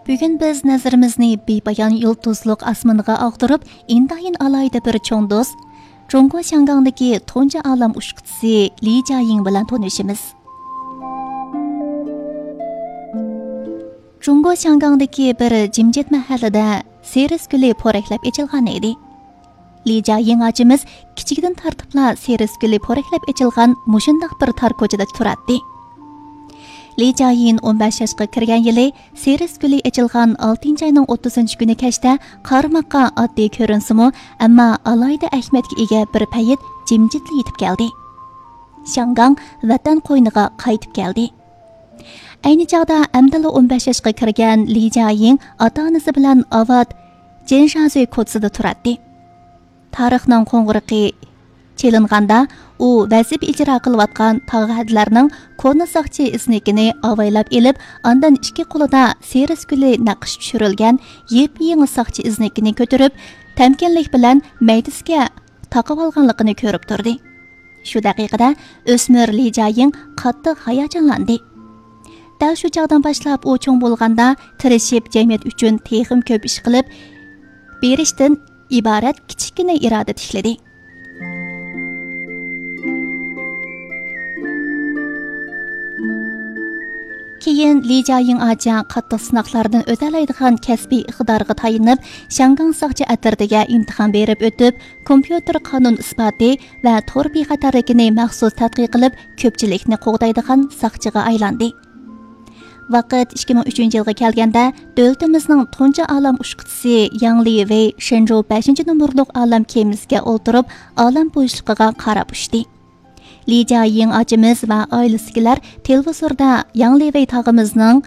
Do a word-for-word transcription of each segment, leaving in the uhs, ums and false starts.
بۈگۈن بىز نەزىرىمىزنى بىپايان يۇلتۇزلۇق ئاسمىنىغا ئاغدۇرۇپ، ئىنتايىن ئالاھىدە بىر چوڭ دوست، جۇڭگو شياڭگاڭدىكى تۇنجى ئالەم ئۇچقۇچىسى لى جيايىڭ بىلەن تونۇشىمىز. جۇڭگو شياڭگاڭدىكى بىر جىمجىت مەھەللىدە سېرىس گۈلى پورەكلەپ ئېچىلغان ئىدى. لى جيايىڭ ئاچىمىز كىچىكىدىن تارتىپلا سېرىس گۈلى پورەكلەپ ئېچىلغان مۇشۇنداق بىر تار كوچىدا تۇراتتى. لى جيايىڭ ئون بەش ياشقا كىرگەن يىلى سېرىس گۈلى ئېچىلغان ئالتىنچى ئاينىڭ ئوتتۇزىنچى كۈنى كەچتە قارىماققا ئاددىي كۆرۈنسىمۇ، ئەمما ئالاھىدە ئەھمىيەتكە ئىگە بىر پەيت جىمجىتلا يېتىپ كەلدى. شياڭگاڭ ۋەتەن قوينىغا قايتىپ كەلدى. ئەينى چاغدا ئەمدىلا ئون بەش ياشقا كىرگەن لى جيايىڭ ئاتا-ئانىسى بىلەن ئاۋات جېنشازۈي كوچىسىدا تۇراتتى. تارىخنىڭ قوڭغۇرىقى چېلىنغاندا، ئۇ ۋەزىپە ئىجرا قىلىۋاتقان تاغ ھەدىلەرنىڭ كونا ساقچى ئىزنىكىنى ئاۋايلاپ ئېلىپ، ئاندىن ئىككى قولىدا سېرىس گۈلى نەقىشى چۈشۈرۈلگەن يېپيېڭى ساقچى ئىزنىكىنى كۆتۈرۈپ، تەمكىنلىك بىلەن مەيدىسىگە تاقىۋالغانلىقىنى كۆرۈپ تۇردى. شۇ دەقىقىدە ئۆسمۈر لى جيايىڭ قاتتىق ھاياجانلاندى. دەل شۇ چاغدىن باشلاپ ئۇ چوڭ بولغاندا تىرىشىپ جەمئىيەت ئۈچۈن تېخىمۇ كۆپ ئىش قىلىپ بېرىشتىن ئىبارەت كىچىككىنە ئىرادە تىكلىدى. كېيىن لى جيايىڭ ئاچا قاتتىق سىناقلاردىن ئۆتەلەيدىغان كەسپىي ئىقتىدارغا تايىنىپ، شياڭگاڭ ساقچى ئەترىتىگە ئىمتىھان بېرىپ ئۆتۈپ، كومپيۇتېر قانۇن ئىسپاتى ۋە تور بىخەتەرلىكىنى مەخسۇس تەتقىق قىلىپ، كۆپچىلىكنى قوغدايدىغان ساقچىغا ئايلاندى. ۋاقىت ئىككى مىڭ ئۈچىنچى يىلغا كەلگەندە، دۆلىتىمىزنىڭ تۇنجى ئالەم ئۇچقۇچىسى ياڭ لىۋېي شېنجۇ بەشىنچى نومۇرلۇق ئالەم كېمىسىگە ئولتۇرۇپ، ئالەم بوشلۇقىغا قاراپ ئۇچتى. لى جيايىڭ ئاچىمىز ۋە ئائىلىسىدىكىلەر تېلېۋىزوردا ياڭ لىۋېي تاغىمىزنىڭ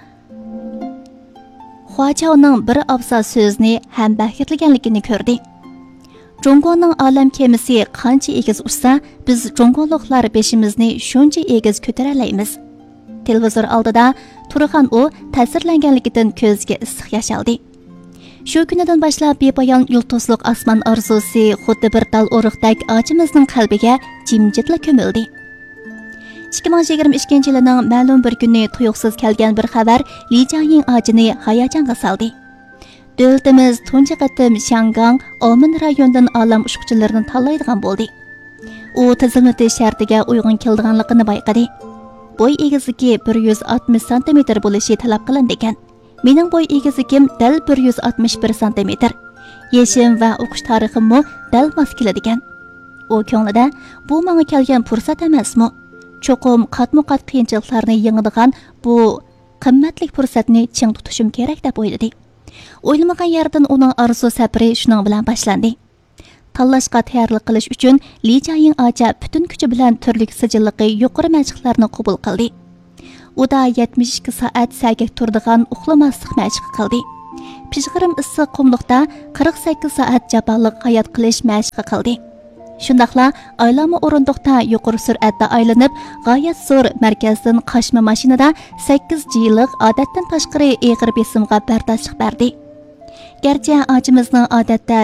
خۇاچاۋنىڭ بىر ئابزا سۆزنى ھەم بەھرىلىگەنلىكىنى كۆردى. جۇڭگونىڭ ئالەم كېمىسى قانچە ئېگىز ئۇچسا، بىز جۇڭگولۇقلار بېشىمىزنى شۇنچە ئېگىز كۆتۈرەلەيمىز. تېلېۋىزور ئالدىدا تۇرغان ئۇ تەسىرلەنگەنلىكىدىن كۆزىگە ئىسسىق ياش ئالدى. شۇ كۈنىدىن باشلاپ بىپايان يۇلتۇزلۇق ئاسمان ئارزۇسى خۇددى بىر تال ئۇرۇقتەك ئاچىمىزنىڭ قەلبىگە جىمجىتلا كۆمۈلدى. ئىككى مىڭ يىگىرمە ئىككىنچى يىلىنىڭ مەلۇم بىر كۈنى تۇيۇقسىز كەلگەن بىر خەۋەر لى جيايىڭ ئاچىنى ھاياجانغا سالدى. دۆلىتىمىز تۇنجى قېتىم شياڭگاڭ، ئاۋمېن رايونىدىن ئالەم ئۇچقۇچىلىرىنى تاللايدىغان بولدى. ئۇ تىزىملىتىش شەرتىگە ئۇيغۇن كېلىدىغانلىقىنى بايقىدى. بوي ئېگىزلىكى بىر يۈز ئاتمىش سانتىمېتىر بولۇشى تەلەپ قىلىنىدىكەن. مېنىڭ بوي ئېگىزلىكىم دەل بىر يۈز ئاتمىش بىر سانتىمېتىر. يېشىم ۋە ئوقۇش تارىخىممۇ دەل ماس كېلىدىكەن. ئۇ كۆڭلىدە، بۇ ماڭا كەلگەن پۇرسەت ئەمەسمۇ؟ چوقۇم قاتمۇ قات قىيىنچىلىقلارنى يېڭىدىغان بۇ قىممەتلىك پۇرسەتنى چىڭ تۇتۇشۇم كېرەك، دەپ ئويلىدى. ئويلىمىغان يەردىن ئۇنىڭ ئارزۇ سەپىرى شۇنىڭ بىلەن باشلاندى. تاللاشقا تەييارلىق قىلىش ئۈچۈن لى جيايىڭ ئاچا پۈتۈن كۈچى بىلەن تۈرلۈك سىجىللىقى يۇقىرى مەشىقلەرنى قوبۇل قىلدى. ئۇدا يەتمىش ئىككى سائەت سەگەك تۇرىدىغان ئۇخلىماسلىق مەشىقى قىلدى. پىژغىرىم ئىسسىق قۇملۇقتا قىرىق سەككىز سائەت جاپالىق ھايات قىلىش مەشىقى قىلدى. شۇنداقلا ئايلانما ئورۇندۇقتا يۇقىرى سۈرئەتتە ئايلىنىپ، غايەت زور مەركەزدىن قاچما ماشىنىدا سەككىز جىلىق ئادەتتىن تاشقىرى ئېغىر بېسىمغا بەرداشلىق بەردى. گەرچە ئاچىمىزنىڭ ئادەتتە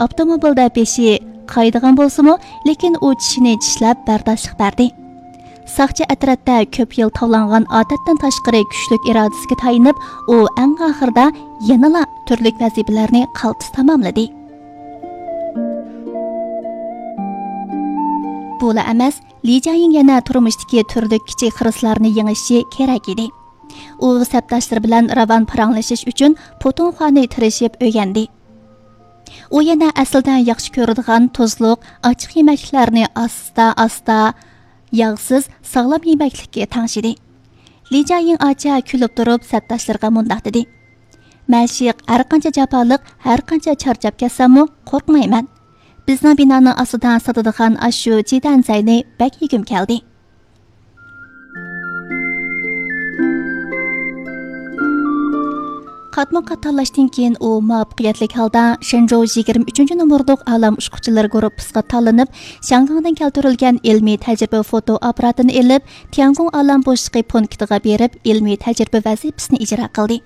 ئاپتوموبىلدا بېشى قايىدىغان بولسىمۇ، لېكىن ئۇ چىشىنى چىشلەپ بەرداشلىق بەردى. ساقچى ئەترەتتە كۆپ يىل تاۋلانغان ئادەتتىن تاشقىرى كۈچلۈك ئىرادىسىگە تايىنىپ، ئۇ ئەڭ ئاخىرىدا يەنىلا تۈرلۈك ۋەزىپىلەرنى قالتىس تاماملىدى. بۇلا ئەمەس، لى جيايىڭ يەنە تۇرمۇشتىكى تۈرلۈك كىچىك خىرىسلارنى يېڭىشى كېرەك ئىدى. ئۇ سەپداشلىرى بىلەن راۋان پاراڭلىشىش ئۈچۈن پۇتۇڭخۇانى تىرىشىپ ئۆگەندى. ئۇ يەنە ئەسلىدە ياخشى كۆرىدىغان تۇزلۇق، ئاچچىق يېمەكلىكلەرنى ئاستا-ئاستا، ياغسىز، ساغلام يېمەكلىككە تەڭشىدى. لى جيايىڭ ئاچا كۈلۈپ تۇرۇپ سەپداشلىرىغا مۇنداق دېدى: مەشىق ھەرقانچە جاپالىق، ھەرقانچە چارچاپ كەتسەممۇ قورقمايمەن. بىزنىڭ بىنانىڭ ئاستىدا ساتىدىغان ئاشۇ جىدەنزەينى بەك يېگۈم كەلدى. قاتمۇ قات تاللاشتىن كېيىن ئۇ مۇۋەپپەقىيەتلىك ھالدا شېنجۇ يىگىرمە ئۈچىنچى نومۇرلۇق ئالەم ئۇچقۇچىلىرى گۇرۇپپىسىغا تاللىنىپ، شياڭگاڭدىن كەلتۈرۈلگەن ئىلمىي تەجرىبە فوتو ئاپپاراتىنى ئېلىپ، تياڭگۇڭ ئالەم بوشلۇقى پونكىتىغا بېرىپ، ئىلمىي تەجرىبە ۋەزىپىسىنى ئىجرا قىلدى.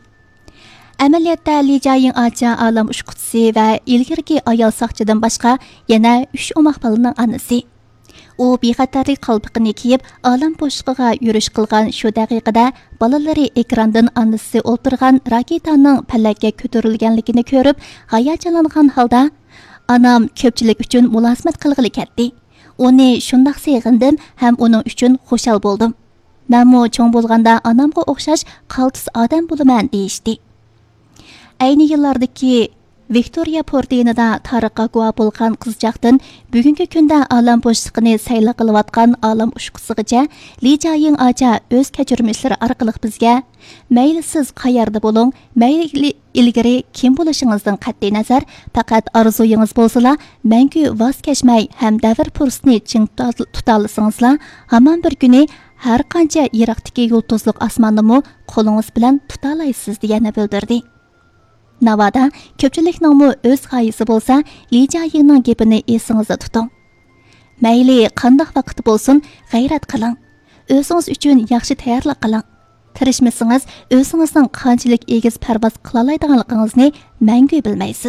ئەمەلىيەتتە، لى جيايىڭ ئاچا ئالەم ئۇچقۇچىسى ۋە ئىلگىرىكى ئايال ساقچىدىن باشقا يەنە ئۈچ ئوماق بالىنىڭ ئانىسى. ئۇ بىخەتەرلىك قالپىقىنى كىيىپ، ئالەم بوشلۇقىغا يۈرۈش قىلغان شۇ دەقىقىدە، بالىلىرى ئېكراندىن ئانىسى ئولتۇرغان راكېتانىڭ پەلەككە كۆتۈرۈلگەنلىكىنى كۆرۈپ، ھاياجانلانغان ھالدا، «ئانام كۆپچىلىك ئۈچۈن مۇلازىمەت قىلغىلى كەتتى. ئۇنى شۇنداق سېغىندىم ھەم ئۇنىڭ ئۈچۈن خۇشال بولدۇم. مەنمۇ چوڭ بولغاندا ئانامغا ئوخشاش قالتىس ئادەم بولىمەن» دېيىشتى. ئەينى يىللاردىكى ۋىكتورىيە فورتىنىدا تارىخقا گۇۋاھ بولغان قىزچاقتىن بۈگۈنكى كۈندە ئالەم بوشلۇقىنى سەيلە قىلىۋاتقان ئالەم ئۇچقۇچىسىغىچە، لى جياڭ ئاچا ئۆز كەچۈرمىشلىرى ئارقىلىق بىزگە، مەيلى سىز قەيەردە بولۇڭ، مەيلى ئىلگىرى كىم بولۇشىڭىزدىن قەتئىينەزەر، پەقەت ئارزۇيىڭىز بولسىلا، مەڭگۈ ۋاز كەچمەي ھەم دەۋر پۇرسىتىنى چىڭ تۇتا-، تۇتالىسىڭىزلا، ھامان بىر كۈنى ھەر قانچە يىراقتىكى يۇلتۇزلۇق ئاسماننىمۇ قولىڭىز بىلەن تۇتالايسىز، دېگەننى بىلدۈردى. ناۋادا كۆپچىلىكنىڭمۇ ئۆز غايىسى بولسا، لى جياڭنىڭ گېپىنى ئېسىڭىزدە تۇتۇڭ. مەيلى قانداق ۋاقىت بولسۇن، غەيرەت قىلىڭ. ئۆزىڭىز ئۈچۈن ياخشى تەييارلىق قىلىڭ. تىرىشمىسىڭىز، ئۆزىڭىزنىڭ قانچىلىك ئېگىز پەرۋاز قىلالايدىغانلىقىڭىزنى مەڭگۈ بىلمەيسىز.